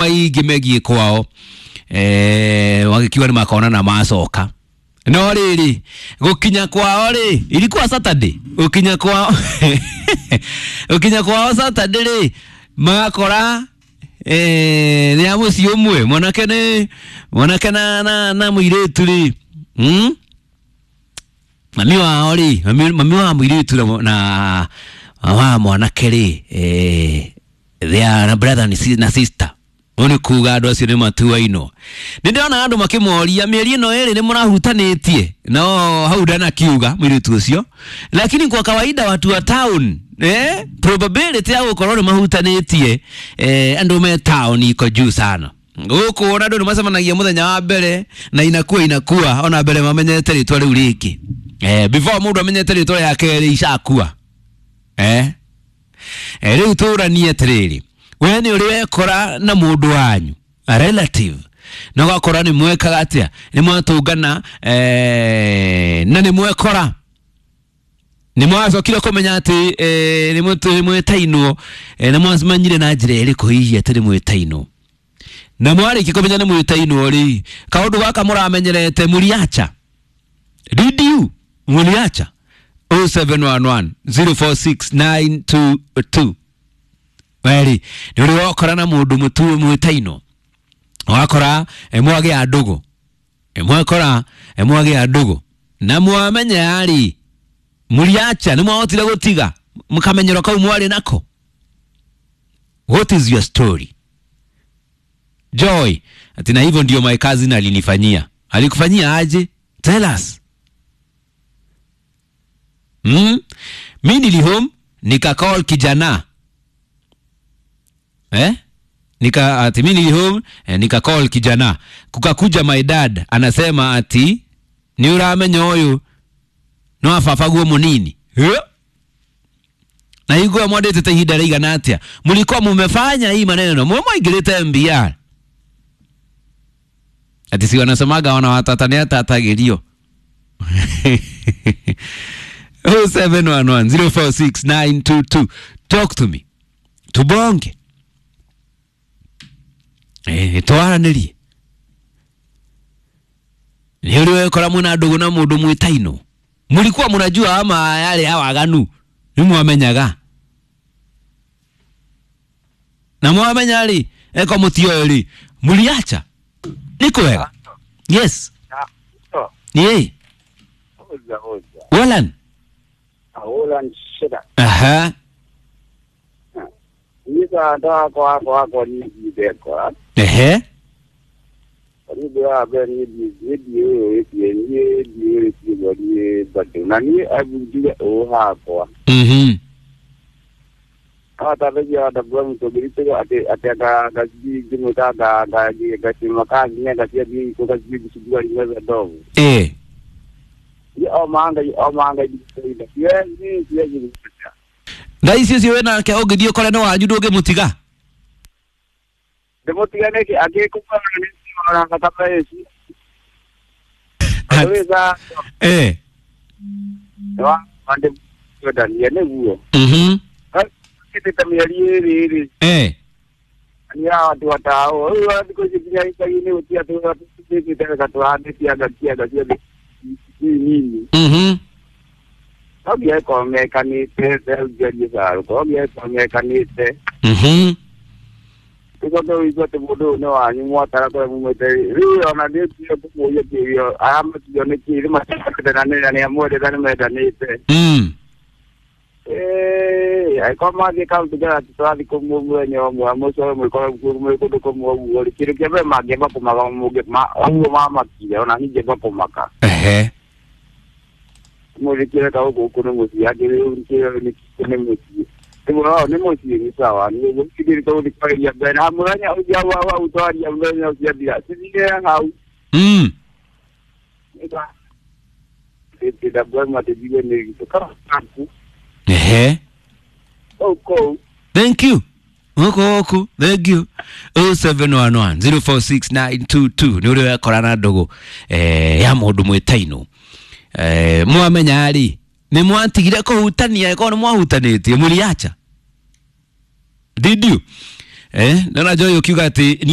Maingĩ megiĩ kwao wagĩkiuga nĩ makona na macoka no rĩrĩ gũkinya kwao rĩ ilikuwa Saturday gũkinya kwao gũkinya kwao Saturday rĩ magakora nĩ a mũciĩ ũmwe mwanake nĩ mwanake na mũirĩtu rĩ Mami wao rĩ mami wa mũirĩtu na wa mwanake rĩ they are brother na sister. Ũũ nĩ kuga andũ acio nĩ matuainwo. Nĩ ndĩrona andũ makĩmoria mĩeri ĩno ĩrĩ nĩ mũrahutanĩtie no hau ndanakiuga mũirĩtu ũcio, lakini kwa kawaida watu wa town probability ya gũkorwo nĩ mahutanĩtie andũ me town iko juu sana. Gũkũ ona andũ nĩ macemanagia mũthenya wa mbere na inakuwa ona mbere mamenyete rĩtwa rĩu rĩngĩ. Before mũndũ amenyete rĩtwa rĩa kerĩ icakua. Rĩu tũranie atĩrĩrĩ, we nĩ ũrĩ wekora na mũndũ wanyu a relative na ũgakora nĩ mwekaga atĩa nĩ mwatũngana na nĩ mwekora nĩ mwacokire kũmenya atĩ nĩ mwĩtainwo na mwacemanyire na njĩra ĩrĩkũ hihi atĩ nĩ mwĩtainwo na mwarĩkia kũmenya nĩ mwĩtainwo rĩ kaũndũ gaka mũramenyerete mũriacha. Did you mũriacha? 0711 046 922. Weri nĩ ũrĩ wakora na mũndũ mwĩtainwo wakora mwagĩa ndũgũ mwakora mwagĩa ndũgũ na mwamenya rĩ mũriacha nĩ mwahotire gũtiga mũkamenyero kau mwarĩ nako. What is your story? Joy ati na hivyo ndio my cousin alinifanyia. Alikufanyia aje? Tell us. Mi nili home nika call kijana. Nika ati mi nili home nika call kijana. Kukakuja my dad anasema ati ni uramenya ũyũ no afafaguo munini. Na igua mwandĩtĩte ihinda rĩigana atĩa? Mlikuwa mumefanya hii maneno mwaingĩrĩte MBR. Ati si wanasemaga wana watata nĩ atatagĩrio. 0711 046 922. Talk to me. Tubonge. Twaranĩrie. Nĩ ũrĩ wekora mwĩna ndũgũ na mũndũ mwĩtainwo? Mlikuwa mnajua ama yale awaganu nĩ mwamenyaga? Na mwamenya rĩ eko mũtioĩ rĩ mũriacha? Nĩ kwega? Yes. Ni Walan. Walan shida. Aha. Nika ndo kwa ni kwa. Ehe. Ni wa be ni ni ni ni ni ni ni na ni abuja o ha kwa. Ata be ya da bwa mto birito ate ate ga ga ji ji ga ga ga ga ti maka ni ga ti bi ko ga ji bi ji ni do. Ye o manga ni ye ni ye ni. Thaa ici ũcio wĩna nake ũngĩthiĩ ũkore nĩ wanyu ndũngĩmũtiga? Ndĩmũtiga nĩkĩ angĩkũmwona nĩ ona thakame ici. Wa ndĩmwendanie nĩguo. Kĩtĩte mĩeri ĩrĩ rĩ. Nĩ andũ atao rĩu thikũ ici nginya icagi-inĩ gũtirĩ atĩ tũtĩte wega tũhandĩte anga cianga ciothe nini. No nginya ĩkorwo mekanĩte ngerie thayũ no nginya ĩkorwo mekanĩte. Tũcoke ũigue atĩ mũndũ ũyũ nĩ wanyu mwatara kũrĩa mumĩte rĩu ona ndĩtio kũmũria kĩũria aramatio nĩkĩ rĩ matiendanĩte na nĩamwendete nĩmendanĩte. Angĩkorwo mathiĩ kaũntĩ njega tũrathiĩ kũmwe mũthenya ũmwe mũcoke mwĩkore mwĩ kũndũ kũmwe ũguo rĩ kĩndũ kĩa mbere mangĩamba kũmaka ũguo mamakire ona niĩ ingĩamba kũmaka. Mũrĩkĩre ka gũkũ nĩ mũciĩ angĩ nĩ mũciĩ rĩu nĩ mũciĩ nĩ sawa nĩ tũgũthiĩ kwarĩria mbere na mũthenya ũcio hau twaria mũthenya ũcio athira cithire hau. Thank you. Huko thank you. 0711 046 922 nĩ ũrĩ wekora na ndũgũ ya mũndũ mwĩtainwo. Mwamenya rĩ nĩ mwatigire kũhutania ĩkorwo nĩ mwahutanĩtie mũriacha? Did you? Naona Joy ukiuga ati niĩ.